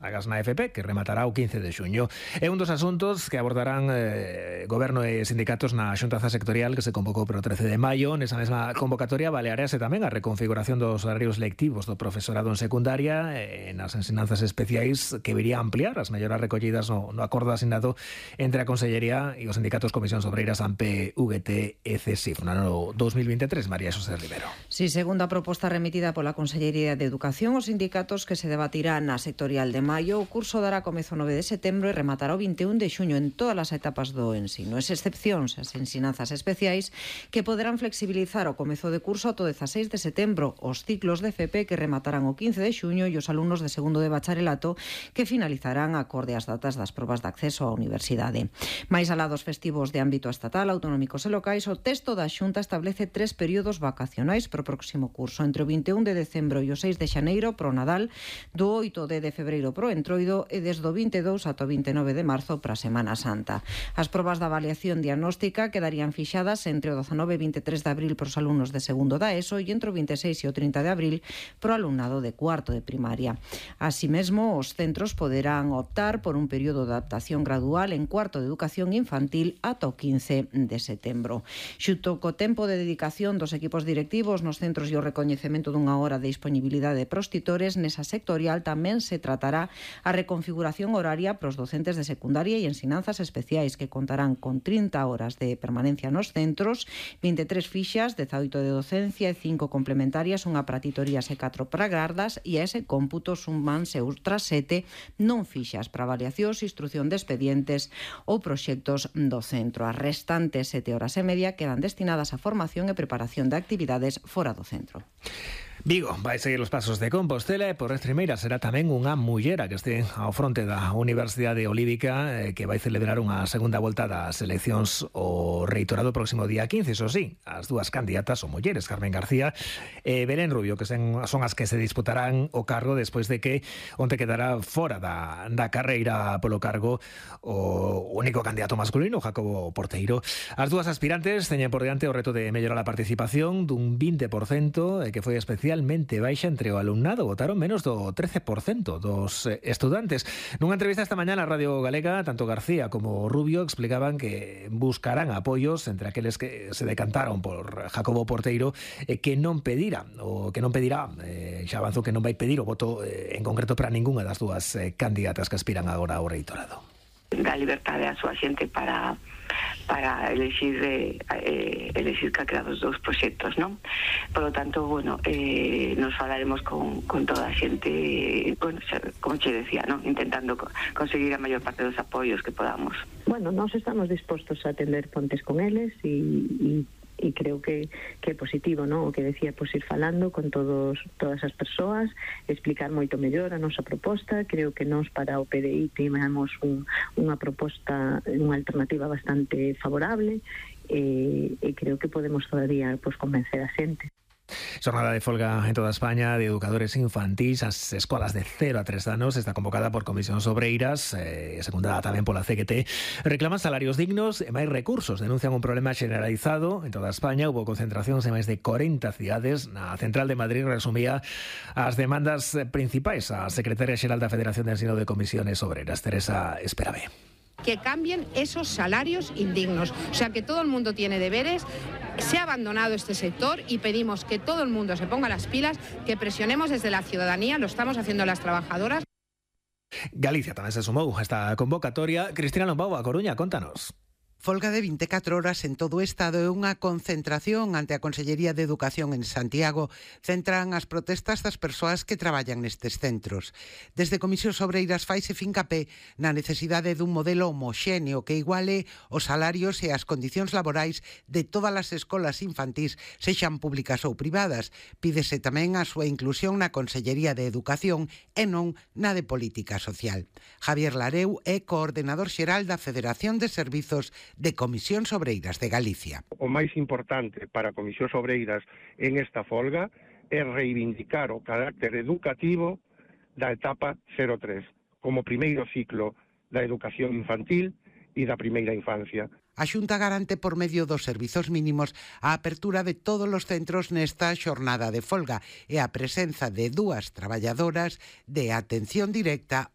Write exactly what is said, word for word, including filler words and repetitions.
Agas na F P, que rematará o quince de xuño. É un dos asuntos que abordarán eh, Goberno e sindicatos na xuntanza sectorial que se convocou para o trece de maio. Nesa mesma convocatoria balearease tamén a reconfiguración dos horarios lectivos do profesorado en secundaria e nas ensinanzas especiais, que viría a ampliar as melloras recollidas no, no acordo asinado entre a Consellería e os sindicatos Comisións Obreiras, A M P, U G T e C S I F no ano dos mil veintitrés. María Xosé Rivero. Si, segundo a proposta remitida pola Consellería de Educación, os sindicatos que se debatirán na sectorial de maio, o curso dará comezo o nove de setembro e rematará o vinte e un de xuño en todas as etapas do ensino. Es excepcións as ensinanzas especiais, que poderán flexibilizar o comezo de curso ata o dezaseis de setembro, os ciclos de F P que rematarán o quince de xuño e os alumnos de segundo de bacharelato que finalizarán acorde ás datas das probas de acceso á universidade. Mais alá dos festivos de ámbito estatal, autonómicos e locais, o texto da Xunta establece tres períodos vacacionais para o próximo curso, entre o vinte e un de decembro e o seis de xaneiro pro Nadal, do oito de febreiro pro Entroido e desde o vinte e dous ata o vinte e nove de marzo para a Semana Santa. As probas da avaliación diagnóstica quedarían fixadas entre o dezanove e vinte e tres de abril para os alumnos de segundo da ESO e entre o vinte e seis e o trinta de abril para o alumnado de cuarto de primaria. Así mesmo, os centros poderán optar por un período de adaptación gradual en cuarto de educación infantil ata o quince de setembro. Xunto co tempo de dedicación dos equipos directivos nos centros e o recoñecemento dunha hora de disponibilidade pros titores, nesa sectorial tamén se tratará a reconfiguración horaria para os docentes de secundaria e ensinanzas especiais, que contarán con trinta horas de permanencia nos centros, vinte e tres fixas, dezaoito de docencia e cinco complementarias, unha para titorías e catro para gardas, e a ese cómputo sumanse outras sete non fixas para avaliacións, instrucción de expedientes ou proxectos do centro. As restantes sete horas e media quedan destinadas a formación e preparación de actividades fora do centro. Vigo vai seguir os pasos de Compostela e por Estremeira será tamén unha mullera que este ao fronte da Universidade Olívica, eh, que vai celebrar unha segunda volta das eleccións ao reitorado próximo día quince. Iso sí, as dúas candidatas son mulleres, Carmen García e Belén Rubio, que son as que se disputarán o cargo despois de que onte quedará fora da, da carreira polo cargo o único candidato masculino, Jacobo Porteiro. As dúas aspirantes teñen por diante o reto de mellorar a participación dun vinte por cento, que foi especialmente baixa entre o alumnado. Votaron menos do trece por cento dos estudantes. Nunha entrevista esta mañá na Radio Galega, tanto García como Rubio explicaban que buscarán apoios entre aqueles que se decantaron por Jacobo Porteiro, eh, que non pedirá, ou que non pedirá, eh, xa avanzou que non vai pedir o voto eh, en concreto para ningunha das dúas eh, candidatas que aspiran agora ao reitorado. Da liberdade a súa xente para para elegir eh, eh, elegir calquera dos dous proxectos, non? Por lo tanto, bueno, eh, nos falaremos con, con toda a xente, eh, bueno, como che decía, non? Intentando co- conseguir a maior parte dos apoios que podamos. Bueno, nós estamos dispostos a atender pontes con eles e, e e creo que, que é positivo, non? O que decía, pois ir falando con todos todas as persoas, explicar moito mellor a nosa proposta. Creo que nós para o P D I temos un, unha proposta, unha alternativa bastante favorable e, e creo que podemos todavía pois convencer a xente. Xornada de folga en toda España de educadores infantís. As escolas de cero a tres anos está convocada por Comisións Obreiras, eh, secundada tamén pola C G T. Reclaman salarios dignos e máis recursos. Denuncian un problema generalizado en toda España. Hubo concentracións en máis de corenta cidades. Na central de Madrid resumía as demandas principais a secretaria xeral da Federación de Ensino de Comisiones Obreras, Teresa Esperavé. Que cambien esos salarios indignos. O sea, que todo el mundo tiene deberes. Se ha abandonado este sector y pedimos que todo el mundo se ponga las pilas, que presionemos desde la ciudadanía, lo estamos haciendo las trabajadoras. Galicia tamén se sumou a esta convocatoria. Cristina Lombao, a Coruña, contanos. Folga de vinte e catro horas en todo o Estado e unha concentración ante a Consellería de Educación en Santiago centran as protestas das persoas que traballan nestes centros. Desde Comisións Obreiras faise fincapé na necesidade dun modelo homoxéneo que iguale os salarios e as condicións laborais de todas as escolas infantís, sexan públicas ou privadas. Pídese tamén a súa inclusión na Consellería de Educación e non na de Política Social. Javier Lareu é coordenador xeral da Federación de Servizos de Comisións Obreiras de Galicia. O máis importante para Comisións Obreiras en esta folga é reivindicar o carácter educativo da etapa cero tres como primeiro ciclo da educación infantil e da primeira infancia. A Xunta garante por medio dos servizos mínimos a apertura de todos os centros nesta xornada de folga e a presenza de dúas traballadoras de atención directa